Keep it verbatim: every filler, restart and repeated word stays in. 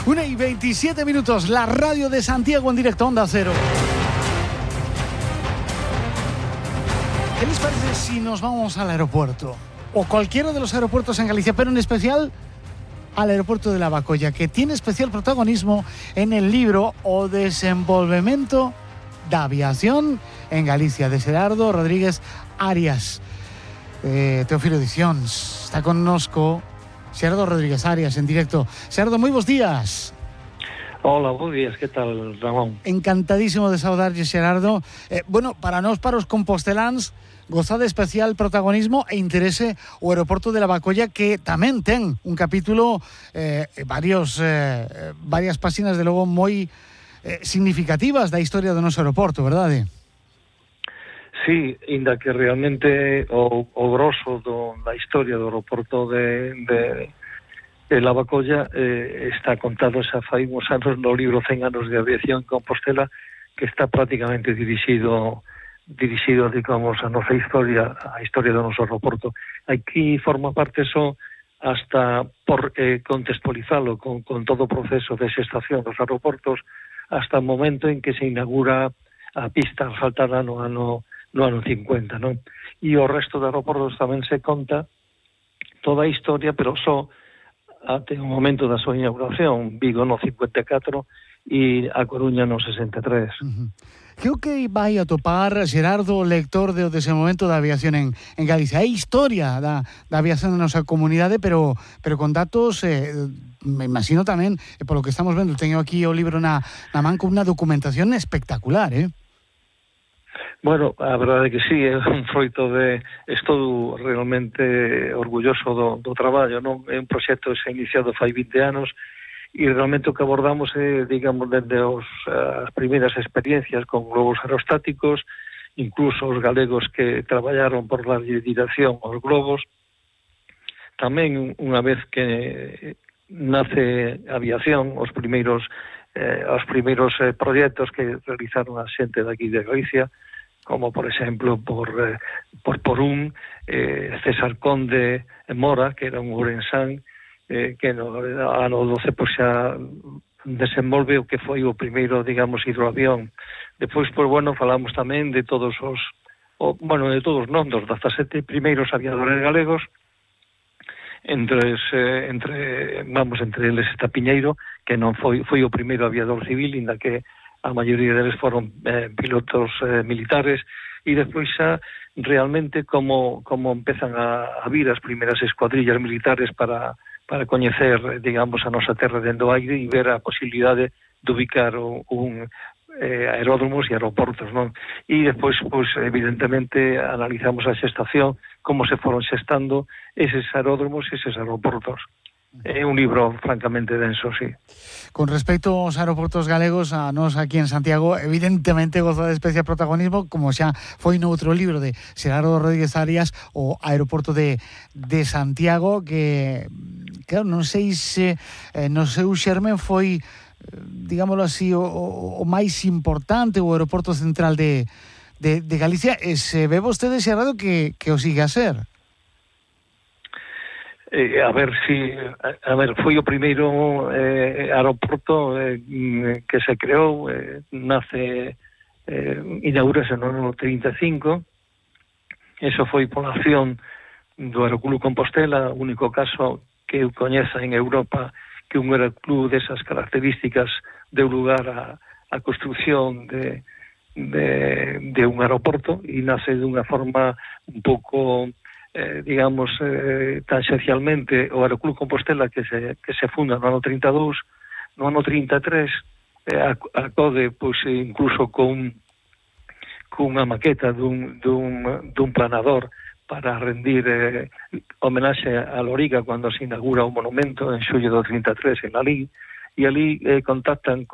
una y veintisiete minutos, la radio de Santiago en directo, Onda Cero. ¿Qué les parece si nos vamos al aeropuerto? O cualquiera de los aeropuertos en Galicia, pero en especial al aeropuerto de Lavacolla, que tiene especial protagonismo en el libro O desenvolvemento da aviación en Galicia, de Xerardo Rodríguez Arias. Eh, Teófilo Edicións. Está connosco Xerardo Rodríguez Arias en directo. Xerardo, moi bons días. Hola, bons días, que tal, Ramón? Encantadísimo de saudarlle, Xerardo. Eh, bueno, para nós, para os composteláns, goza de especial protagonismo e interese o aeroporto de Lavacolla, que tamén ten un capítulo, eh, varios, eh, varias páxinas, de logo, moi eh, significativas da historia do noso aeroporto, verdade? Sí, inda que realmente o, o grosso do, da historia do aeroporto de, de, de Lavacolla eh, está contado xa fai uns anos no libro cen anos de aviación en Compostela, que está prácticamente dirixido dirixido, digamos, a nosa historia, a historia do noso aeroporto. Aquí forma parte só hasta por eh, contextualizalo con, con todo o proceso de xestación dos aeroportos, hasta o momento en que se inaugura a pista asfaltada no ano no ano cincuenta, non? E o resto de aeroportos tamén se conta toda a historia, pero só até o momento da súa inauguración. Vigo no cincuenta e catro e A Coruña no sesenta e tres. Uh-huh. Que o que vai a topar, Xerardo, lector de O desenvolvemento da aviación en, en Galicia? É historia da, da aviación na nosa comunidade, pero, pero con datos, eh, me imagino tamén, eh, polo que estamos vendo, teño aquí o libro na, na man con unha documentación espectacular, eh? Bueno, a verdade é que sí, é un froito de... Estou realmente orgulloso do, do traballo, non? É un proxecto que se ha iniciado fai vinte anos e realmente o que abordamos é, digamos, dende os, as primeiras experiencias con globos aerostáticos, incluso os galegos que traballaron por darlle dirección aos globos. Tamén, unha vez que nace a aviación, os primeiros, eh, os primeiros eh, proxectos que realizaron a xente daqui de Galicia, como por exemplo por eh, por por un eh, César Conde Mora, que era un ourensán, eh, que no ano doce pois xa desenvolve o que foi o primeiro, digamos, hidroavión. Depois, pois bueno, falamos tamén de todos os, o, bueno, de todos non, dos dezasete primeiros aviadores galegos, entre eh, entre vamos, entre eles está Piñeiro, que non foi foi o primeiro aviador civil, inda que a maioría deles foron eh, pilotos eh, militares, e despois xa realmente como como empezan a, a vir as primeiras escuadrillas militares para para coñecer, digamos, a nosa terra dentro do aire e ver a posibilidade de ubicar un, un eh, aeródromos e aeroportos, non? E despois, pois, evidentemente, analizamos a xestación, como se foron xestando eses aeródromos e eses aeroportos. É un libro francamente denso, sí. Con respecto aos aeroportos galegos, a nós aquí en Santiago, evidentemente goza de especial protagonismo, como xa foi no outro libro de Xerardo Rodríguez Arias, o aeroporto de, de Santiago, que, claro, non sei se eh, no seu xermen foi, digámoslo así, o, o, o máis importante, o aeroporto central de, de, de Galicia, e se ve vostede, Xerardo, que, que o sigue a ser. Eh, a ver si, a, a ver, foi o primeiro eh, aeroporto eh, que se creou, eh, nace, eh, inaugurase no ano trinta e cinco, eso foi pola acción do Aeroclub Compostela, o único caso que eu coñeza en Europa que un aeroclub desas características deu lugar a, a construcción de, de, de un aeroporto, e nace dunha forma un pouco... Eh, digamos, eh, tangencialmente o Aeroclub Compostela que se, que se funda no ano trinta e dous, no ano trinta e tres eh, acode, pois, incluso con cunha maqueta dun, dun, dun planador para rendir eh, homenaxe a Loriga cando se inaugura o monumento en xullo do trinta e tres en Lalín, e ali eh, contactan